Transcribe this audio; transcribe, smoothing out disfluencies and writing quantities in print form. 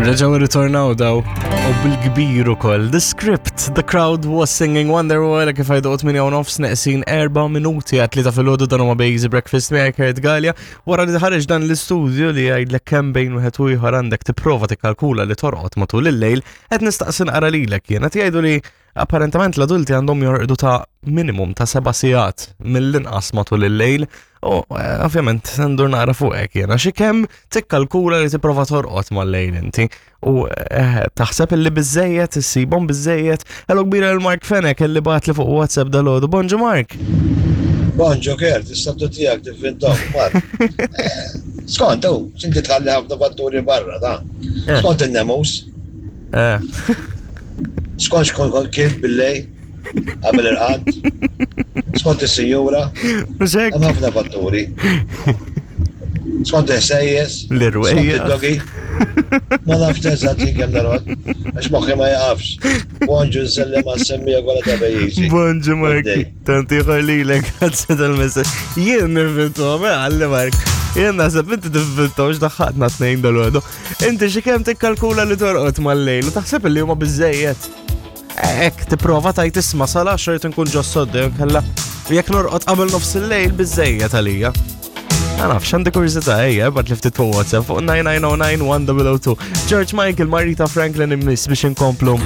Reġaw ritornaw daw u bil-kbir ukoll. The script, the crowd was singing Wonderwall kif għajdu 8 u nofs neqsin 4 minuti għat li ta' filgħodu dan huma Bejzi Breakfast miegħi Kurt Gallia wara li ħareġ dan l-istudju li jgħidlek kemm bejn wieħed u ieħor għandek tipprova tikkalkula li torqod matul il-lejl qed nistaqsi naqra lilek jien qed jgħidu li Apparentament l-adulti għandhom jorqdu ta' minimum ta' seba' sigħat mill-inqas matul il-lejl u eh, ovvjament ndur naqra fuqek jiena xi kemm tikkalkula li tipprova torqod mal-lejl inti u eh, taħseb illi biżejjed issibhom biżejjed. Hello kbira lil Mark Fenek illi bagħat li fuq WhatsApp dalodu. Bonġu Mark. Bonġu Kert, is-sabtu tiegħek tivvintom, Mark. Eh, skont, u, x'inti tħalli ħafna fatturi barra, ta' skont in-nemus. Eh. Skont xkont kont kif billej, qabel irqad, skont is-sinjura, hemm ħafna fatturi. Skont il-ħsejjes, l-irwejja. Skont id-dogi. Ma nafx eżatt jien kemm narod, għax moħħi ma jaqafx. Bonġu nsellem għas-semmija kollha ta' pajjiżi. Bonġu Mark. Tant ieħor lilek, grazzi tal-messaġġ. Jien nivvintom, eh, għalli Mark. Jien naħseb inti tivvintom x'daħħatna tnejn dal-għodu. Inti xi kemm tikkalkula li torqod mal-lejl u taħseb li huma biżejjed. Ek, tipprova tajt isma' sal-10 inkun ġo sodda jew kella jekk norqod qabel nofs il-lejl biżejjed għalija. Ma nafx, għandi kurżità ejja, bat li ftit fuq WhatsApp fuq 9909 1002. George Michael, Marita Franklin immiss biex inkomplu.